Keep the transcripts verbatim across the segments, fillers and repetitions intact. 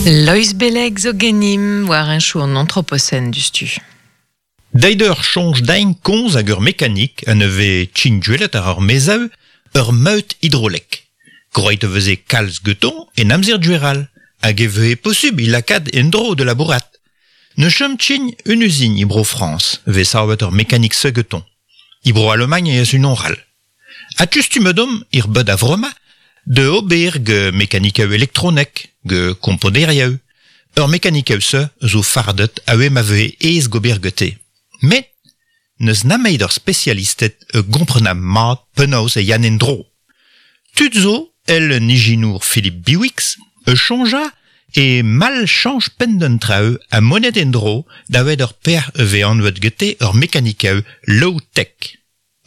Lois Beleg zo genim war un chou an anthropocène du stu. Deider chonj dain konz hag ur mekanik an eve tchin ar ur mezaou ur meut hidrolek. Groit veze kalz geton en amzer dueral, hag e veze posub il lakad en dro de labourat. Ne chom tchin un usine ibro France, ve savet ur mekanik se geton. Ibro Allemagne ez un onral. A tustumedom ir bud a vroma, de ober ge mekanikeu elektronek, ge kompoderieu. Ur mekanikeu se zo fardet a ma veze ez gober gete. Met, neus nameid ur spesialistet e gomprena mat penaos e yann en dro. Tud zo, el un ijinour Philippe Biwix, e chonja e mal chanj pen trao a monet en dro da wed ur per e ve anvet gete ur mekanikeu low-tech.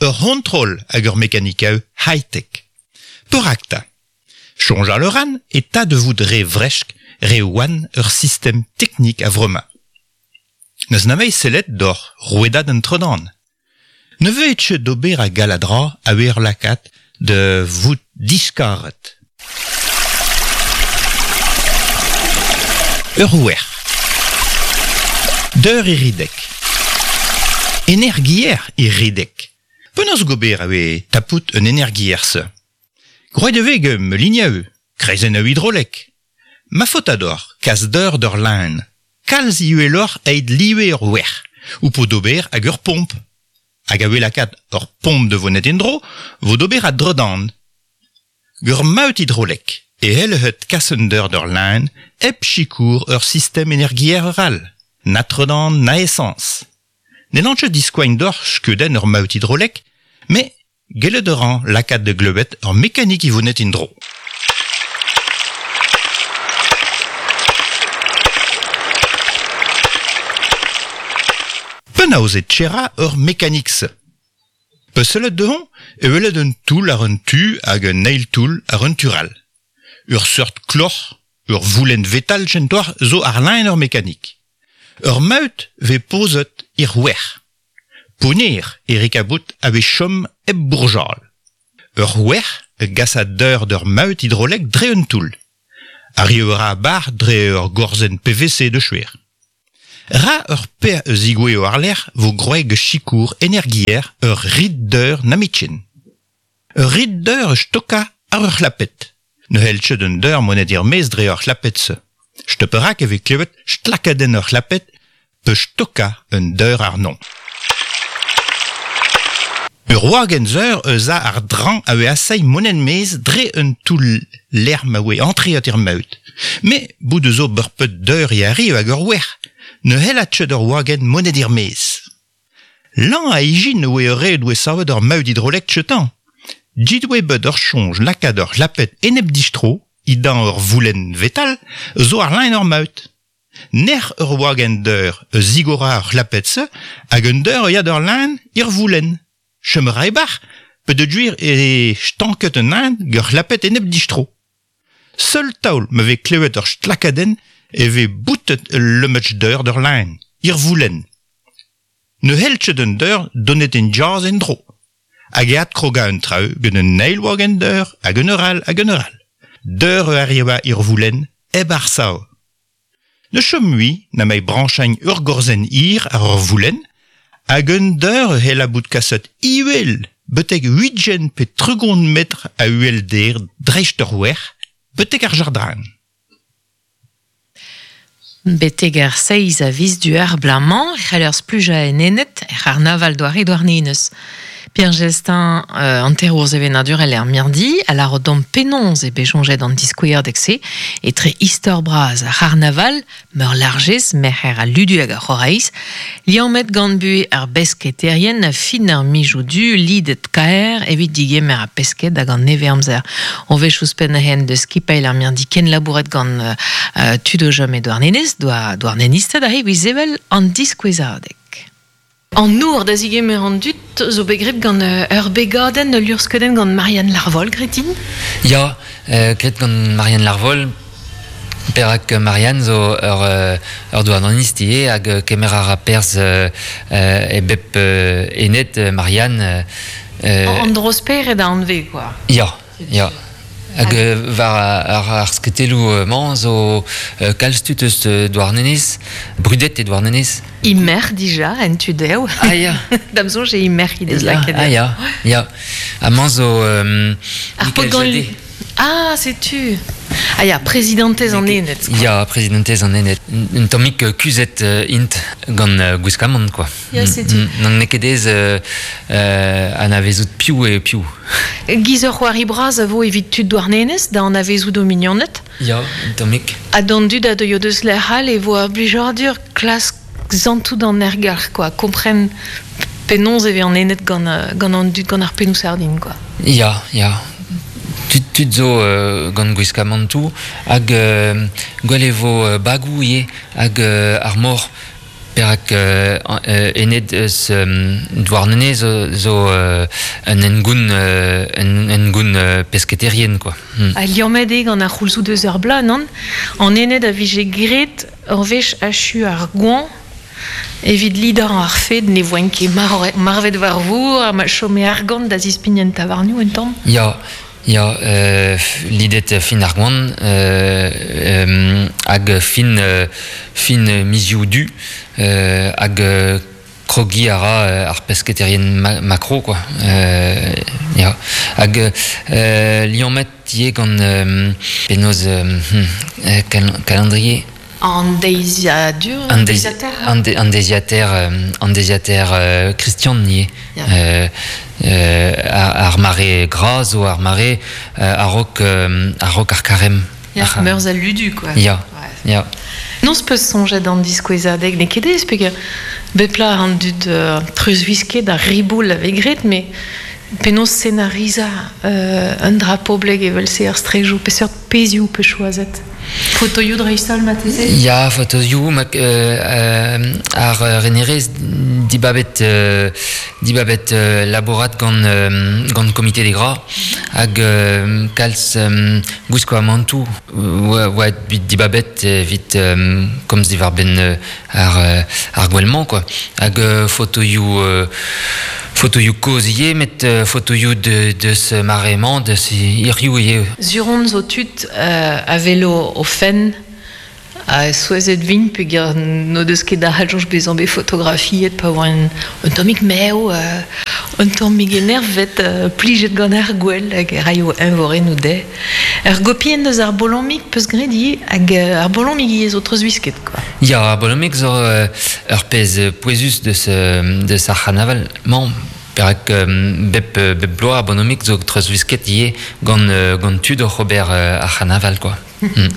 Ur hontrol hag ur mekanikeu high-tech. Perakta. Chonja le ran e ta de vout re vresk re oan ur system teknik a vrema. Neus namei sellet d'or rouedad an tredan. Ne veut etche d'ober a galadra a wer lakat de vout diskaret. Ur ouer. Deur iridek. Energier iridek. Penaos gober a we tapout un energier se. Groet e veg me kreizen a hidrolek. Ma fotador, kas deur d'ur lain. Kalz iuelor eid liwe ur wer, ou po d'ober hag ur pomp. Hag a lakaat ur pomp de vonet endro, vo d'ober a dredan. Gur maut hidrolek, e hel het kassen deur d'ur lain, ep chikour ur system energier ral. Na tredan, na essence. Ne lantche diskoagn d'or skuden ur maut hidrolek, me gellet ran lakaat de gleuet ur mekanik i vonet indro. Penaos e tchera ur mekanik se. Peselet dehon e welet un toul ar un tu hag un nail toul ar un tural. Ur seurt kloc'h, ur voulen vetal gentoar zo ar lain ur mekanik. Ur maut ve pozet ir wer. Poner e rikabout a ve chom eb bourjal. Ur wer e gas a deur d'ur maut hidrolek dre un toul. Ar ur a bar dre ur gorzen P V C de chouer. Ra ur per eus igwe o arler vo groeg chikour energier ur rid deur namitchen. Ur rid deur stoka ar ur chlapet. Ne helche d'un deur monet ir mez dre ur chlapet se. Steuperak e ve klevet stlakaden ur chlapet pe stoka un deur ar non. Ur wagen zeur eus a ar dran a we asai monen mez dre un toul lerm a we antreat ir maut. Me bout eus o beurpet deur i arriv hag ur wer. Ne hell a tchet ur wagen monet ir mez. Lan a ijin oe ur red oe savet ur maut hidrolek tchetan. Djit oe bet ur chonj lakad ur lapet enep distro, idan ur voulen vetal, zo ar lain ur maut. Ner ur wagen deur eus zigora ur lapet se, hag un deur yad ur lain ir voulen. Chemera e bar, pe de duir e stanket un ain gur lapet enep distro. Seul taol me ve klevet ur stlakaden e ve boutet le match d'eur d'ur lain, ir voulen. Ne helchet un deur donet en jazz en dro. Hag eat kroga un trau gant un nail wagen deur hag un oral hag un oral. Deur arriva ir voulen eb ar sao. Ne chom mui na mei branchagne ur gorzen ir ar ur voulen, hag un deur hel a bout kaset iwel, betek huitgen pe tregont metr a uel der dreist ur wer, betek ar jardin. Betek ar seiz a viz du ar blamañ, c'haller spluja en enet, er ar naval doare douarnenez. Pierre Gestin, euh, anterour zevenadur el er mirdi, a la rodom penonz e bejonjet an diskouer dekse, e tre istor braz ar c'harnaval, meur largez, merc'her a ludu hag ar c'horaïs, liammet gant bu ar besketerien a fin ar mijou du, lidet kaer, evit digemer a pesket hag an neve amzer. On vech ouzhpenn hen de skipail ar mirdi ken labouret gant euh, tudo jom e douarnenez, doa douarnenistad a evit zevel an diskouezadek. An nour da zigemer an dut zo begrep gant ur begadenn lurskedenn gant Marianne Larvol, Gretin? Ya, euh, gret gant Marianne Larvol, perak Marianne zo ur, ur douarnenist ivez hag kemer ar a perz euh, e bep euh, enet Marianne. Euh, an drosper e da anve, quoi. Ya, ya. Hag war ar, ar sketelou mañ zo kalz tud eus Douarnenez, brudet e Douarnenez. Imer dija, en tudeu. Ah ya. Dam soñj e imer he deus lakaet. Ah ya, ya. Ha mañ zo um, Ar Michael Jadé. Ah, setu. Ah ya, prezidentez an Ened. Ya, prezidentez an Ened. Un tammig kuzhet int gant uh, gwiskamant, quoi. Ya, setu. N'an n'eo ket ez euh, euh, anavezout piv eo piv. Giz ur c'hoari bras a vo evit tud Douarnenez da anavezout o mignoned. Ya, un tammig. Ha d'an dud a deuio deus lec'h all e vo ar blijadur klask zantout an ergalc'h, quoi. Kompren penaos e vez an Ened gant, gant an dud gant ar pennoù sardin, quoi. Ya, ya. Tud, tud zo euh, gant gwiskamantoù hag euh, gwell e vo euh, bagou ivez hag euh, ar mor perak euh, ened eus euh, Douarnenez zo, zo euh, un engoun euh, un engoun euh, pesketerien quoi. Hmm. Ha liammet eo gant ar c'houlzoù deus ar bloaz, non? An ened a vije graet ur wech achu ar goañv evit lidañ ar fed ne voent ket mar marvet war vor ha ma chome argant da zispign en tavarnioù un tamm. Ya, Ya, euh, lidet fin ar goan, euh, euh, hag fin, euh, fin mizioù du, euh, hag krogi a ra ar pesketerien ma makro, quoi. Euh, ya. Hag euh, liammet ivez gant euh, penaos euh, hmm, cal calendrier. An deiziadur, an deiziater An, de, an deiziater, an deiziater euh, Christian ivez. Yeah. Euh, euh, ar mare gras zo ar mare euh, a-raok euh, a-raok ar karem. Ya, meurzh al ludu, quoi. Ya, ouais. Ya. Non peus soñjet an diskouezadeg n'eo ket ez, peogwir bep plat an dud euh, treuzwisket ar riboul a vez graet, met penaos scenarizañ euh, un dra poblek evel-se ar strejoù, peseurt pezhioù peus choazet. Fotoioù dreist-holl marteze? Ya, fotoioù, mak, euh, euh, ar renerez dibabet, euh, dibabet euh, labourat gant, euh, gant komite des gras hag euh, kalz euh, gwiskamantoù oa, oa dibabet evit euh, komz diwar-benn euh, ar, ar gwell-mañ, quoi. Hag euh, fotoioù euh, fotoioù kozh ivez, met euh, fotoioù de, deus mare-mañ, deus hiziv ivez. Sur on zo tud euh, a velo o fenn a souezhet vint peogwir n'o deus ket da c'hall bezañ bet fotografiet pa oa un, un tammig mev, euh, un tammig enervet, euh, plijet gant ar gwell hag e raio eñvorennoù dezhe. Ur gopienn deus ar bolomig peus graet ivez hag ar bolomig ivez zo treuzwisket, quoi. Ya, ar bolomig zo euh, ur pezh pouezus deus, deus ar c'harnaval mañ. Perak euh, bep, bep bloaz ar bolomig zo treuzwisket ivez gant, gant tud oc'h ober ar c'harnaval, quoi. Mm.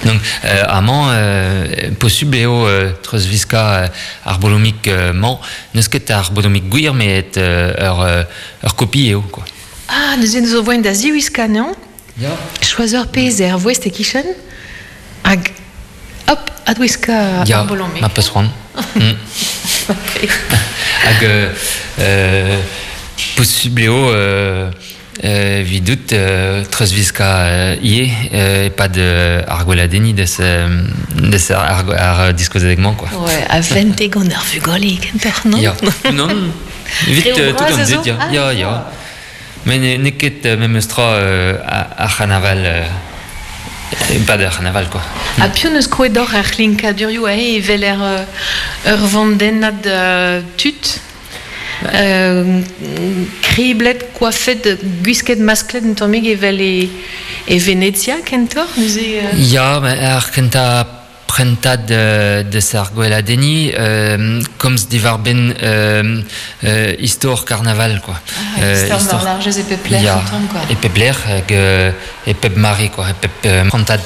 Donc euh, amañ euh, posubl eo euh, treuzwiskañ euh, ar bolomig euh, mañ n'eus ket ar bolomig gwir met euh, ur, ur kopi eo, quoi. Ah, neuze zo voen da ziwiskañ, non? Ya. Choaz ur pezh er voest e-kichen hag hop, adwiskañ ya, ar bolomig. Ma peus c'hoant. Mm. Hag euh, euh, posubl eo euh, Euh, vidout euh, treuzwiskañ euh, ivez euh, e-pad euh, ar gweladenniñ deus, euh, deus ar, ar diskouezadeg-mañ, quoi. Ouais, a vente gant ar vugale kentoc'h, non? Ya. Non, evit euh, tout an dud, ya. Ah, ya, ya. Met n'eo ket memes tra euh, ar c'harnaval euh, e-pad ar c'harnaval, quoi. Ha piv neus krouet deoc'h ar c'hlinkadurioù aze evel er ur vandennad euh, tud? Euh, kriblet, koafet, gwisket masklet un tammig evel e, e Venezia kentoc'h, neuze euh... Ya, ar kentañ prentad euh, deus ar gweladenniñ euh, komz diwar-benn euh, euh, istor karnaval, quoi. Ah, euh, istor war largez e pep lec'h ya, un tamm, quoi. E pep lec'h hag e pep mare, quoi, e pep euh, prantad.